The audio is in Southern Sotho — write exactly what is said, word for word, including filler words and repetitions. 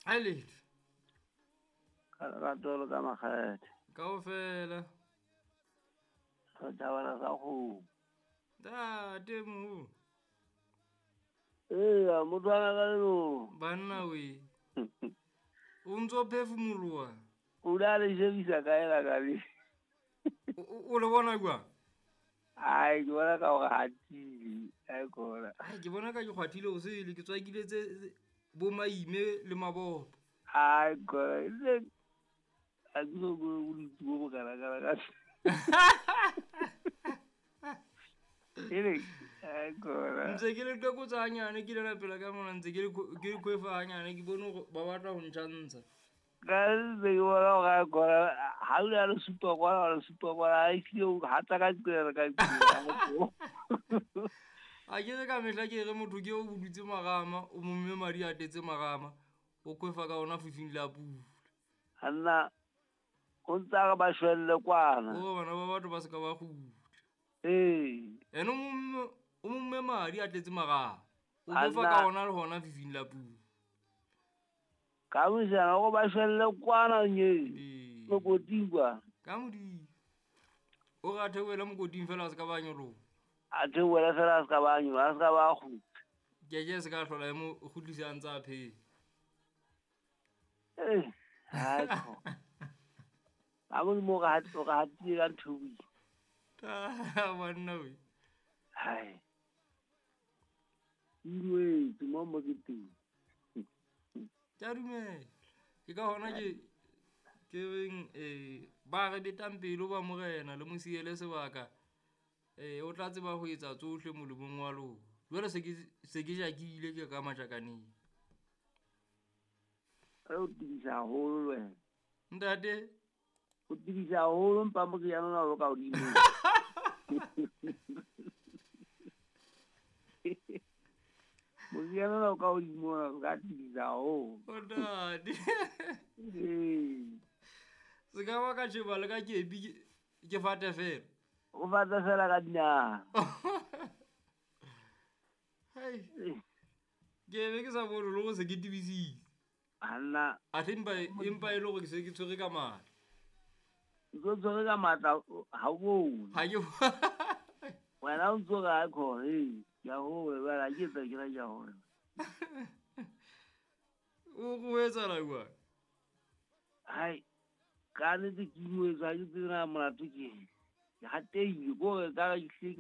Ha letho. Ka lerato le ka makgethe. Kaofela. Re thabela sa kgomo. Ntate moholo. Eya, motho wa ka leno. Banna we. O ntso phefumoloha. O la le shebisa kae la ka le? O le bona jwang? Ai, ke bona ka hore hatile. Ai kona. Ai, ke bona ka ke kgwathile o sele, ke tswakile tse bo maime le mabopo. Ai kona. Ile a ke so go go ditse bo kana kana ka. Ele ai kona. Ntse ke le qekotsa hanyane ke le pela ka mona ntse ke le ke le kwefa hanyane ke bone hore ba batla ho ntjhantsha. Ka ntse ke bona hore ai kona ha o le supa kwana le supa kwana ai hlile o hatsa ka tsela ka tsela. A ke re ka mehla ke re motho ke o budutse marama o momme madi a tetse marama o kwefa ka ona fifing la pula. Hanna o ntsa re ba shwelle kwana. O bana ba batho ba se ka ba kgutla. Ee. Ene o momme o momme madi a tletse marama o kwefa ka ona le hona fifing la pula. Ka mosana go ba shwelle kwana nye. Ee. Mokoting kwa. Ka modimo. O re a theohele mokoting fela a se ka ba nyoloha. A theohele fela a se ka ba nyoloha, a se ka ba kgutla. Ke ke se ka hlola e mo kgutlisa a ntse a phela. Eh, hai ko. Ka modimo o re hat- o re hatile ka ntho e boima. Ah, banna we. Hai. Inwetse mo mo ke teng. Ke a dumela. Ke ka hona ke ke reng eh ba re betang pelo ba morena le mo siele sebaka. Eh o tla tseba ho etsa tsohle molemong wa lona. Jwale se ke se ke jakile ke ka matjakaneng. Re o tibisa haholo le wena. Ntate. O tibisa haholo mpa moriana ona o ka hodimo. Moriana ona o ka hodimo ona o ka tibisa haholo. O ntate. Ee. Se ka ba ka tjheba le ka kepi ke, ke fate fela. O fata fela ka dinao. Hai. Ke be ke sa bone le hore se ke tibisitse. Hanna. Athe empa empa e le hore ke se ke tshwere ka matla. Ntso tshwere ka matla ha o bone. Ha ke Wena o ntso re ha khona, ee, ke a hola jwale ha ke etsa ke ra ke a hola. O go etsahala jwang? Hai, ka nnete ke inwetse ha ke tsebe na molato ke eng. Ke hatehile ko re ka re ke hlile